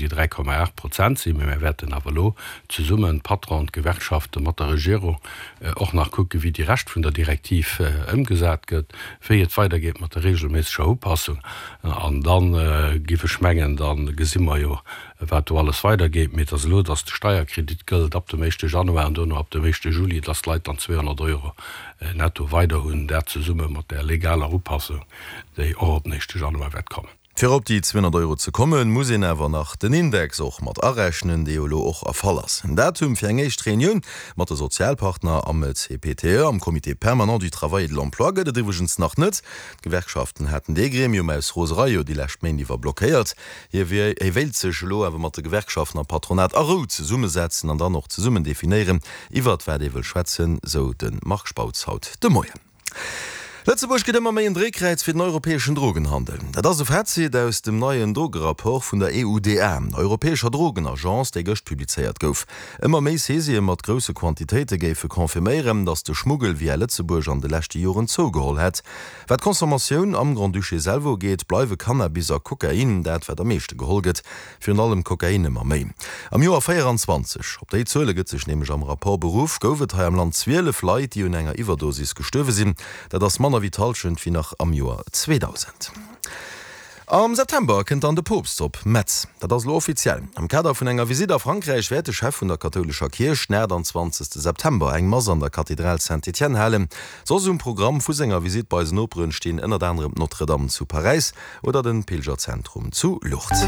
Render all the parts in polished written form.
déi 3,8 Prozent sinn. Mee mir wäerten awer elo zesummen, d'Patronen, d'Gewerkschaften, mat der Regierung och nach kucken, wéi déi Rescht vun der Direktiv ëmgesat gëtt, wéi et weidergeet mat der regelméisseger Upassung. An da giff ech mengen, da gesi mer jo, wat do alles weidergeet. Mee et ass elo, dass de Steierkredit gëllt ab dem éischte Januar an duerno ab dem éischte Juli, dass d'Leit dann 200 Euro netto weider hunn, dat zesumme mat där legaler Upassung, déi och op den éischte Januar wäert kommen. Fir op déi 200 Euro ze kommen, muss een awer nach den Index och mat arechnen, dee jo elo och erfall ass. En Datum fir eng éischt Reunioun mat de Sozialpartner am CPTE, am Comité permanent du travail et de l'emploi, gëtt et iwwregens nach net. D'Gewerkschaften haten dee Gremium aus Roserei jo déi lescht Méint iwwer blockéiert. Hie wéilt sech elo awer mat de Gewerkschaften am Patronat a Rou zesummesetzen an dann och zesummen definéieren, iwwert wat ee wëll schwätzen, sou de Marc Spautz haut de Moien. Lëtzebuerg gëtt ëmmer méi en Dréikräiz fir den europäeschen Drogenhandel. Dat ass e Fazit aus dem neien Drogerapport vun der EUDA, der europäescher Drogenagence, dee gëscht publizéiert gouf. Ëmmer méi Saisië mat grousse Quantitéite géife confirméieren, datt de Schmuggel via Lëtzebuerg an de leschte Joren zougeholl hätt. Wat d'Consommatioun am Grand-Duché selwer ugeet, bleiwe Cannabis a Kokain dat, wat am meeschte geholl gëtt. Virun allem Kokain ëmmer méi. Am Joer 24, op déi Zuele gëtt sech nämlech am Rapport beruff, gouf et hei am Land 12 Leit, déi un enger Iwwerdosis gestuerwe sinn. Dat ass manner wéi d'Hallschent wéi nach am Joer 2000. Am September kënnt dann de Poopst op Metz. Dat ass elo offiziell. Am Kader vun enger Visitt a Frankräich wäert de Chef vun der kathoulescher Kierch den 28 September eng Mass an der Kathedral Saint-Étienne halen. Soss um Programm vu senger Visitt bei eisen Noperen stinn ënnert anerem d'Notre-Dame zu Paräis oder den Pilgerzentrum zu Lourdes.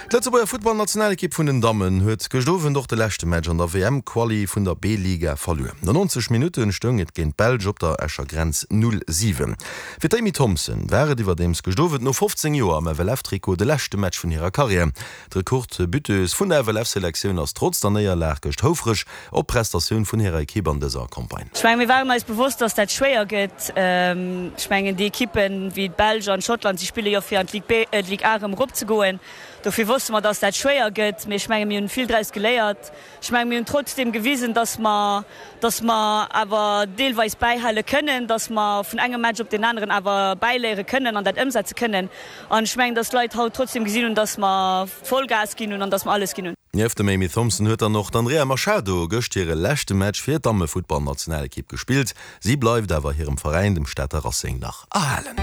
D'Lëtzebuerger Futtballnationalekipp vun den Dammen huet gëscht Owend och de leschte Match an der WM-Quali vun der B-Liga verluer. No 90 Minutten stoung et géint d'Belsch op der Escher Grenz 0, 7. Fir d'Amy Thompson war et iwwerdeems gëscht Owend no 15 Joer am FLF-Trikot de leschte Match vun hirer Karriär. D'Rekordbuteuse vun der FLF-Selektioun ass trotz der Néierlag gëscht houfreg op d'Prestatioun vun hirer Ekipp an dëser Campagne. Ech mengen, mir waren eis bewosst, dass dat schwéier gëtt. Ech mengen, déi Ekippen wéi d'Belsch an Schottland, si spille jo fir an d'Ligue B, d'Ligue A erëm eropzegoen. Dofir wosste mer, dass dat schwéier gëtt. Mee ech mengen, mir hunn vill draus geléiert. Ech mengen, mir hunn trotzdeem gewisen, dass mer, dass mer awer deelweis bäihale kënnen, dass mer vun engem Match op deen aneren awer bäiléiere kënnen an dat ëmsetze kënnen. An ech mengen, dass d'Leit haut trotzdeem gesinn hunn, dass mer Vollgas ginn hunn an dass mer alles ginn hunn. Nieft dem Amy Thompson huet dann och d'Andrea Machado gëscht hire leschte Match fir d'Dammefuttballnationalekipp gespillt. Si bleift awer hirem Veräin, dem Stater Racing, nach erhalen.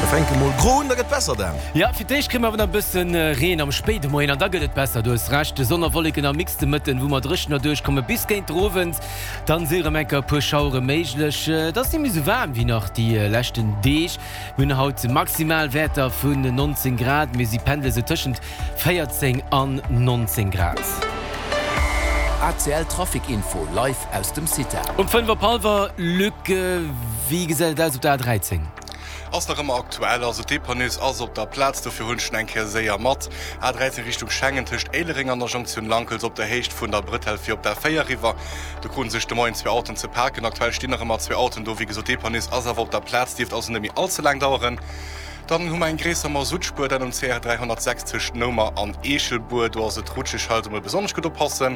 Mir fänke mol gro un, da gëtt besser, Dan. Jo, fir d'éischt kréie mer awer nach e bësse Reen am spéide Moien an da gëtt et besser. Du hues Recht, Sonn a Wolleken am Mix de Mëtten, wou mer dréchener duerchkomme bis géint den Owend. Dann si rem eng Kéier e puer Schauere méiglech. Et ass net méi sou waarm wéi nach déi leschten Deeg. Mir hunn haut Maximalwäerter vun 19 Grad, mee si pendele sou tëschent 14 an 19 Grad. ACL Trafic Info live aus dem CITA. Um 5 op hallwer, Luc, wéi gesäit et aus op der A13? Ass nach ëmmer aktuell, also d'Dépanneuses ass op der Plaz, dofir hunn ech en eng Kéier séier mat. A13 Richtung Schengen tëscht Éilereng an der Jonktioun Lankels op der Héicht vun der Brëtell fir op d'A4 eriwwer. Do kruten sech de Moien zwee Autoen ze paken. Aktuell stinn nach ëmmer zwee Autoen do. Wéi gesot, d'Dépanneuses ass awer op der Plaz, dierft also net méi all ze laang daueren. Dann hu mer eng gréisser Masuttspuer, dat um CR 306 tëscht Noumer an Eechelbuer. Do ass et rutscheg, hei also mol besonnesch gutt oppassen.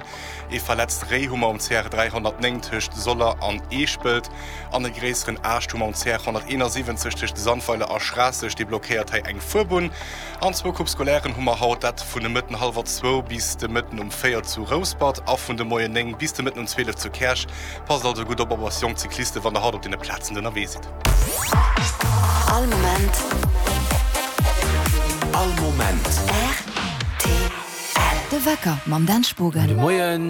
Ee verletzt Réi hu mer um CR 309 tëscht Soller an Eeschpelt. An e gréisseren Aascht hu mer um CR 171 tëscht Sandweiler a Schraasseg, dee blockéiert hei eng Fuerbunn. An zwou Coupe scolairen hu mer haut, dat vun de Mëtten hallwer zwou bis de Mëtten um 4 zu Rouspert a vun de Moien 9 bis de Mëtten um 12 zu Käerch. Passt also gutt op op eis jonk Cyclisten, wann der haut op deene Plazen ënnerwee sidd. All Moment. All Moment. Rtl. De Wecker mam Dan Spogen. Gudde Moien.